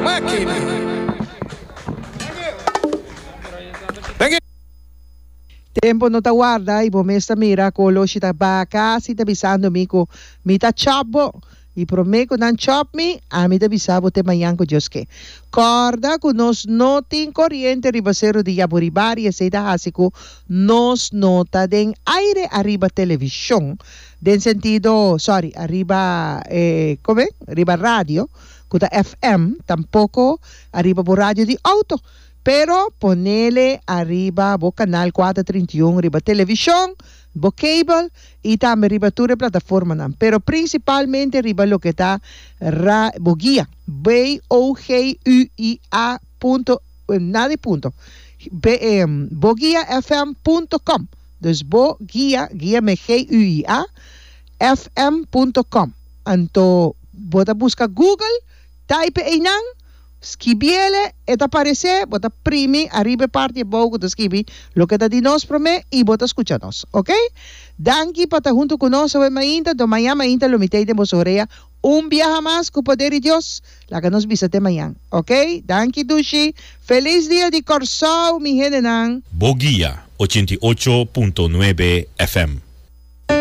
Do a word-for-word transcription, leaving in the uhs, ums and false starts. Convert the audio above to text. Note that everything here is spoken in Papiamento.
Máquina. Thank you. Tempo no ta warda y bo mes ta mira cu oloshi ta ba casi ta bisando mi cu mi ta chop bo y prome cu nan chop mi ami ta bisa bo te mañan cu Dios ke. Corda cu nos no tin coriente riba Cero di Yaburibari, esey ta haci cu nos no ta den aire ariba television den sentido, sorry, ariba e come riba radio cu ta F M, tampoco ariba bo radio di auto. Pero ponele ariba bo canal kuater trinta i un riba television, bo cable y tambe riba tur e plataformanan. Pero principalmente riba loke ta ra bo guia, B O G U I A punto, nada di punto, B, boguia F M punto com. Dus bo guia, guia me G U I A, F M punto com. Anto bo ta busca Google, type einan, skibiele, e ta aparece, bo ta primi ariba e parti abou cu ta skibi loke ta di nos prome y bo ta scucha nos. Ok? Danki pa ta hunto cu nos awe mainta, do mañan mainta lo mi tey den boso orea un biaha mas cu poder di Dios. Laga nos bisa te mañan. Ok? Danki dushi. Feliz dia di Corsou, mi hendenan. Bo Guia, ochenta i ocho punto nuebe F M.